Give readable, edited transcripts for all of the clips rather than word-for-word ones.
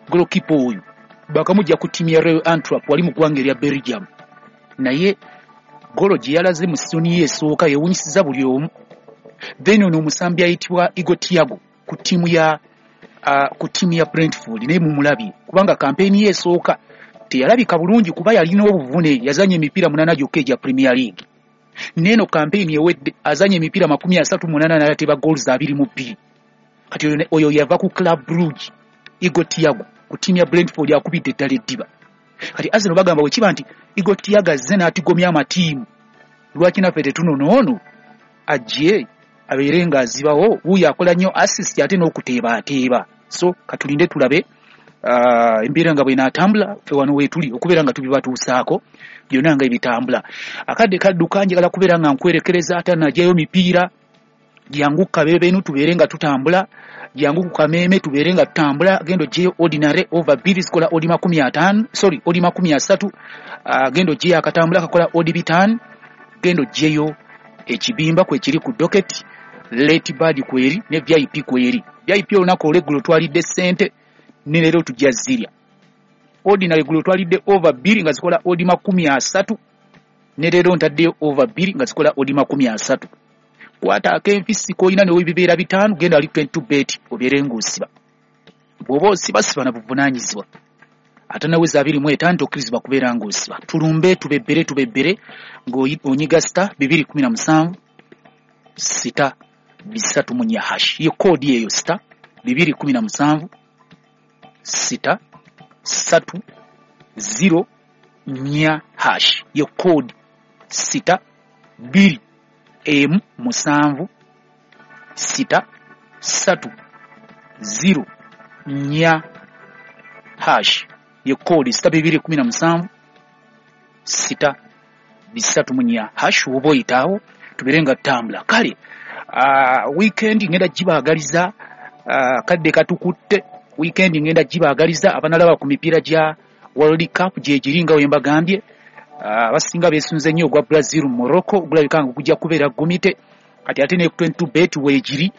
Goalkeeper oyo bakamujja ku ttiimu ya Royal Antwerp wali mu ggwanga erya Belgium, naye golo gye yalaze mu sizoni ye esooka yewunyisiza buli omu. Then ono omusambi ayitibwa Igor Thiago ku ttiimu ya Brentford naye mumulabye, kubanga kampeyini ye esooka teyalabika bulungi kuba yalina obuvune, yazanya emipiira 8 gyokka egya Premier League. Neeno kampeyini ewedde azanya emipiira 38 naye ateba goals 22. Kati oyo yava ku Club Brugge, Igor Thiago ku ttiimu ya Brentford akubidde eddala eddiba. Kati Arsenal bagamba bwe kiba nti Igor Thiago azze n'atigomya amatiimu, lwaki naffe tetunona ono ajje abeere ng'azibawo? Wuuyo akola nnyo assist ate n'okuteebaateeba. So katulinde tulabe embeera nga bw'enaatambula. Ffe wano weetuli okubeera nga tubibatuusaako byonna nga ebitambula. Akadde kadduka, njagala kubeera nga nkwerekereza ate najjayo mipiira. Jangu kabeebenu tubeere nga tutambula, jangu ku kameeme tubeere nga tutambula. Genda ogyeyo ordinary over 2 zikola odi 50, sorry, odi 30. Genda ogyeyo akatambula kakola odi 5. Genda ogyeyo ekibimba kwekiri ku docket, late bird kweri ne VIP kweri. VIP olunaku olweggulo twalidde ssente ne leero tujja zirya. Ordinary eggulo twalidde over 2 nga zikola odi 30, ne leero ntaddeyo over 2 nga zikola odi 30. Kwata akenfisi k'olina ne bibeera 5, genda ali 22 bet obeere ng'osiba. Bw'oba osiba, siba na buvunaanyizibwa. Ate naweza 25 tokkirizibwa kubeera ng'osiba. Tulumbe tubebbere tubebbere ng'onyiga *217 *334 hash. Ye koodi eyo *217 *3 0 4 hash. Ye koodi *217 6 3 0 4 hash. Ye koodi *217 6 3 4 hash. Oba oyitaawo tubeere nga tutambula. Kale weekend ngenda gibaagaliza, kadde katukutte. Weekend ngenda gibaagaliza abanalaba ku mipiira gya World Cup gyegiri nga we mbagambye. Abasinga beesunze nnyo ogwa Brazil Morocco, gulabika nga gujja kubeera gumite. Kati ate ne 22 bet weegiri,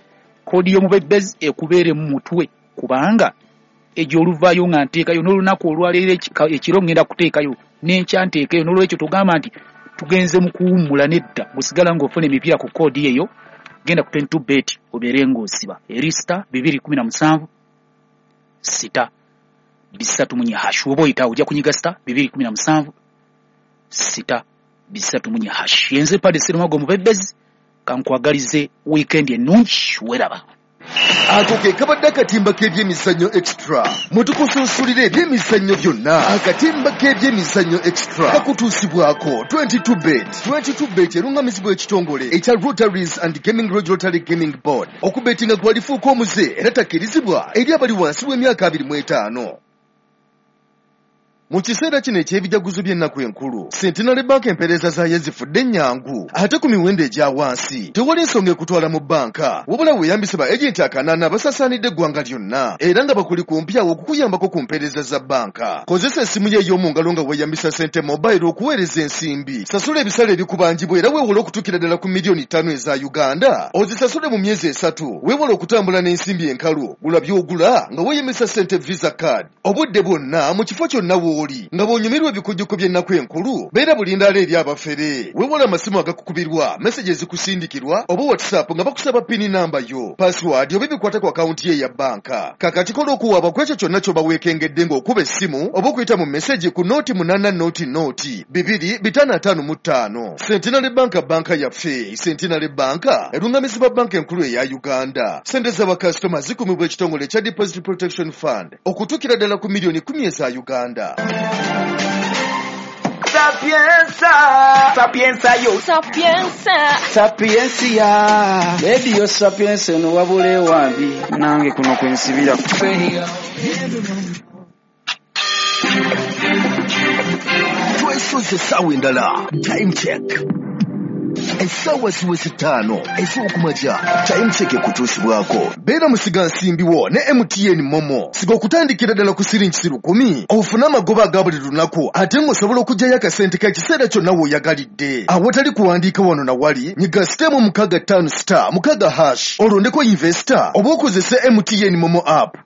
koodi y'omubebezi ekubeere mu mutwe, kubanga egyo oluvaayo nga nteekayo n'olunaku olwaleero ekiro ngenda kuteekayo n'enkya nteekeyo. N'olwekyo togamba nti tugenze mu kuwummula, nedda, gusigala ng'ofuna emipiira ku koodi eyo. Genda ku 22 bet obeere ng'osiba eri *217 6 3 4 hash. Oba oyitaawo ojja kunyiga *217 6 3 4 hash. Yenze Pade Serumago omubebezi, kankwagalize weekend ennungi, weraba. Ako ke kabadde akatimba k'ebyemizannyo Extra mwe tukusunsulira ebyemizannyo byonna. Akatimba k'ebyemizannyo Extra kakutuusibwako 22 bet. 22 bet erungamizibwa ekitongole ekya Lotteries and Gaming Regulatory Gaming Board. Okubetinga gwalifuuka omuze era takkirizibwa eri abali wansi w'emyaka 25. Mu kiseera kino eky'ebijaguzo by'ennaku enkulu, Centenary Bank empeereza zaayo zifudde ennyangu ate ku miwendo egya wansi. Tewali nsonga ekutwala mu bbanka, wabula weeyambise ba agenti 8 basaasaanidde eggwanga lyonna era nga bakuli kumpi awo okukuyambako ku mpeereza za bbanka. Kozesa essimu yo ey'omu ngalo nga weeyambisa Sente Mobile okuweereza ensimbi, sasula ebisale ebikubanjibwa era weewole okutuukira ddala ku miliyoni 5 eza Uganda ozisasule mu myezi 3. Weewale okutambula n'ensimbi enkalu, gula by'ogula nga weeyambisa Sente Visa Card obudde bwonna mu kifo kyonna w'oli. Nga bw'onyumirwa ebikujjuko by'ennaku enkulu, beera bulindaala eri abafere. Weewale amasimu agakukubirwa, message ezikusindikirwa oba WhatsApp nga bakusaba PIN namba yo, password oba ebikwata ku akawunti ye eya bbanka. Kakati kola okuwaaba ku ekyo kyonna ky'oba weekengedde ng'okuba essimu oba okuyita mu message ku 0800 2 555. Centenary Bank, banka yaffe. Centenary Bank erungamizibwa Banka Enkulu eya Uganda. Sente z'abakasitoma zikumibwa ekitongole ekya Deposit Protection Fund okutuukira ddala ku miliyoni 10 eza Uganda. Sapienza, sapienza yo. Sapienza. Sapiencia. Lediyo Sapienza eno wabula ewambi nange kuno kwensibira. Twesoze essaawa endala. Time check, essaawa ziweze 5 ez'okumakya. Time check ekutuusibwako beera musigansimbi wo ne MTN MoMo. Siga okutandikira ddala ku siringi 1,000 ofune amagoba aga buli lunaku ate ng'osobola okuggyayo akasente k'ekiseera kyonna w'oyagalidde awatali kuwandiika wano na wali. Nyiga *656*6# olondeko investor oba okozese MTN MoMo app.